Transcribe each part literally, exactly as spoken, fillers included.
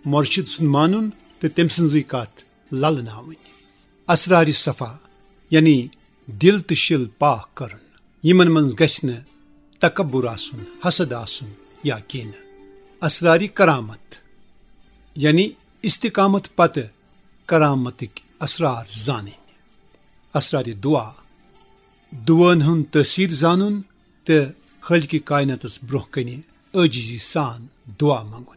مرشد سُنٛد مانُن تہٕ تٔمۍ سٕنٛزٕے کتھ للناوٕنۍ۔ اسرارِ صفا، یعنی دل تہٕ شِل پاک کرُن، یِمن منٛز گژھِ نہٕ تکبر آسُن، حسد آسُن یا کینہہ۔ اسرارِ کرامت، یعنی استقامت پتہٕ کرامتٕکۍ اسرار زانٕنۍ۔ اسرارِ دعا، دعاہن ہُنٛد تٲثیر زانُن تہٕ خالقِ کائناتس برونٛہہ کنہِ عٲجزی سان دعا منگُن۔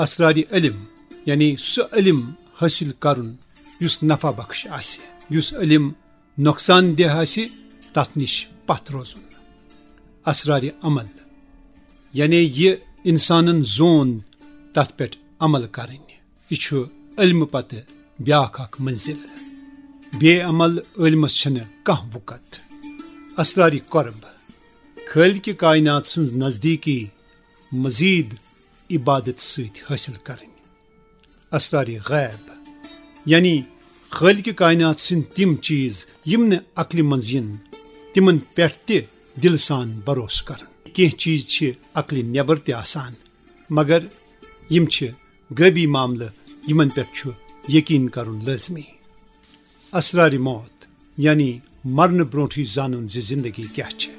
اسرارِ علم، یعنی سُہ علم حٲصِل کرُن یُس نفع بخش آسہِ، یُس علم نۄقصان دہ آسہِ، تتھ نِش پتھ روزُن۔ اسرارِ عمل، یعنی یہِ انسانن زون تتھ پٮ۪ٹھ عمل کرٕنۍ۔ یہِ چھُ علمہٕ پتہٕ بیاکھ اکھ منزل۔ بے عمل عٲلمس چھنہٕ کانٛہہ وُکت۔ اسرارِ قرب، خالقِ کائنات سٕنٛز نزدیٖکی مزید عبادت سۭتۍ حٲصِل کرٕنۍ۔ اسرارِ غیب، یعنی خالقِ کائنات سٕنٛدۍ تِم چیٖز یِم نہٕ عقلہِ منٛز یِن، تِمن پٮ۪ٹھ تہِ دِلہٕ سان بھروسہٕ کرُن۔ کینٛہہ چیٖز چھِ عقلہِ نٮ۪بر تہِ آسان، مگر یِم چھِ غٲبی معاملہٕ، یِمن پٮ۪ٹھ چھُ یقین کرُن لٲزمی۔ اسرارِ موت، یعنی مرنہٕ برونٛٹھٕے زانُن زِ زندگی کیٛاہ چھِ،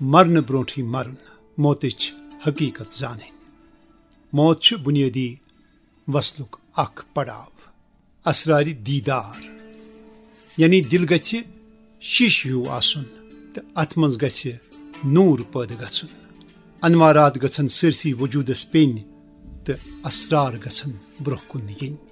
مرنہٕ برونٛٹھٕے مرُن، موتٕچ حقیقت زانٕنۍ۔ موت چھُ بنیٲدی وصلُک اکھ پڑاو۔ اسرارِ دیدار، یعنی دل گژھِ شیٖشہٕ ہیوٗ آسُن تہٕ اتھ منٛز گژھِ نوٗر پٲدٕ گژھُن۔ انوارات گژھن سٲرسٕے وجودس پیٚنۍ تہٕ اسرار گژھن برونٛہہ کُن یِنۍ۔